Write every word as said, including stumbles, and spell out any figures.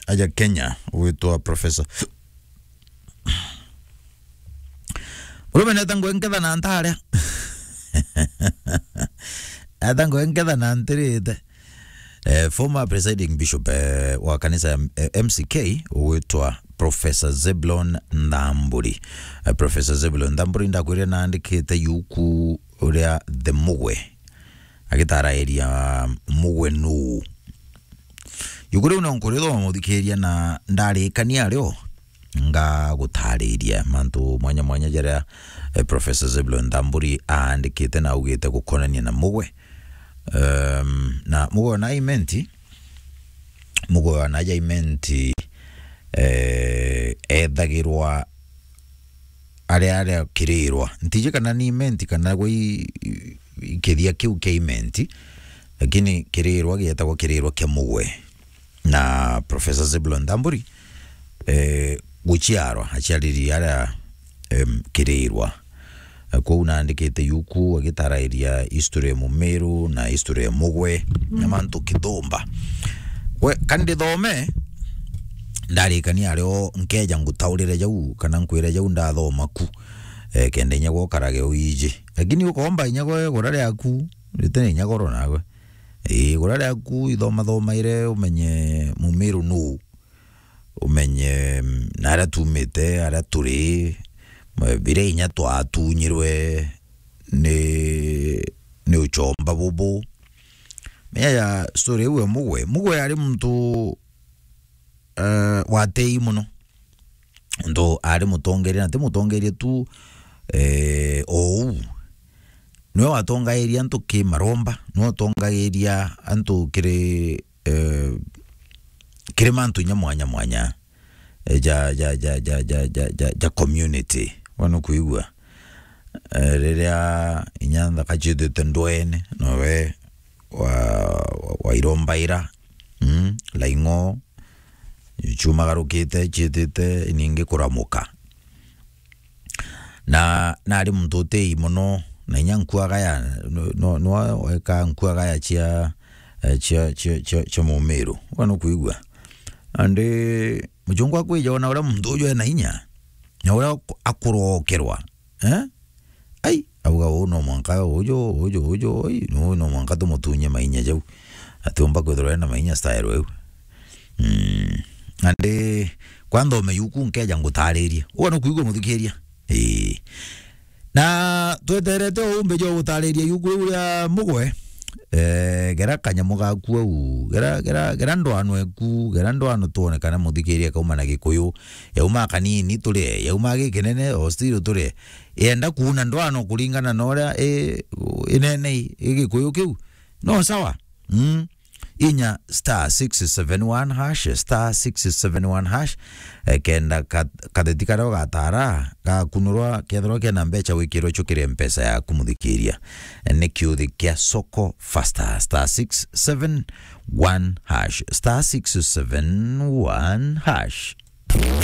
aja Kenya, ugwitwa Professor. Murume neta ngwe nketha na ntaria. Neta ngwe nketha na ntirite. Eh, former presiding bishop, eh, wa kanisa ya, eh, M C K, ugwitwa Professor Zebulon Ntamburi. Eh, Professor Zebulon Ntamburi ndakwire naandikite yuku uria The Mugwe. Agitarairia Mugwe nuu. Yuku riu no nkurithoma, muthikiria, na ndarikania rio ngagutariria mantu mwanya mwanya jaria, eh, Professor Zebulon Ntamburi aandikite na augite gukonania na Mugwe. Em, na Mugwe ona Imenti, Mugwe ona aja Imenti, eh, ethagirwa aria, aria Kirirwa. Ntiji kana ni Imenti kana gwe i-, i-, kithia kiu kia Imenti, lakini Kirirwa gietagwa Kirirwa kia Mugwe. Na Professor Zebulon Ntamburi, eh, guciarwa, aciariri aria, em, Kirirwa. Eh, kwou naandikite yuku agitarairia history ya Mumiru na history ya Mugwe na mantu kithumba. We, ka ndithome, ndarikania ario nkeja ngutaurire jau, kana nkwire jau ndathoma ku. Eh, kenda inya gwe ukarage uiji. Lakini ukomba inya gwe gura riaku, ritene inya goro nawe. Ii, gura riaku ithomathomaire umenye Mumiru nuu. Umenye, mm, na aria tumite, aria turi, ma-, biria inya twatunyirwe ni, ni uchomba bubu. Menya ya story iu ya Mugwe. Mugwe ari muntu, eh, watei muno. Ntu ari mutongeria, na ti mutongeria tu, eh, o uu. Niwe watongairia antu ki maromba, niwe watongairia antu kiri, eh, kiri mantu inya mwanya mwanya, eh, ja, ja, ja community. Wana kuigua? Eh, riria inya nthaka ciithite ndwene, nowe wa, wa, wairombaira, mm, laing'o, ciumagarukite, ciitite ningi kuramuka. Na, na ari muntu utii mono, na inya nkuagaya, no, no, no weka nkuagaya cia, eh, cia, cia, cia, cia Mumiru. Wana kuigua? Andi muchungu akwija ona uria muntu uju ena inya, na uria aku-, akurokerwa, eh? Ai, auga, "Uu no mwanka uju, uju, uju, ui, no, no mwanka tumutunye mainya jau. Atiumba kwithirwa ena mainya style iu." Mm. Andi, kwa nthome yuku nkeja ngutaririe. Uu no kuigua muthikiria? Ii. Na tweterete uumbi jwa gutariria yuku riu ria Mugwe. Eh, gera kanyamu gaku au, gera, gera, gera ndwano eku, gera ndwano twone kana muthikiria kauma na Gikuyu, yauma kanini turie, yauma gikinene, o still turie. Yenda kuuna ndwano kuringana na uria i, inene i, i Gikuyu kiu. No sawa? Mm. Inya star six seven one hash, star six seven one hash, eh, kenda ka-, katheti karia ugatara gakunurwa, kethirwa kena mbecha wikirwe cio kiri mpesa yaku muthikiria. Eh, ni kiuthi kia Soko Faster, star six seven one hash, star six seven one hash.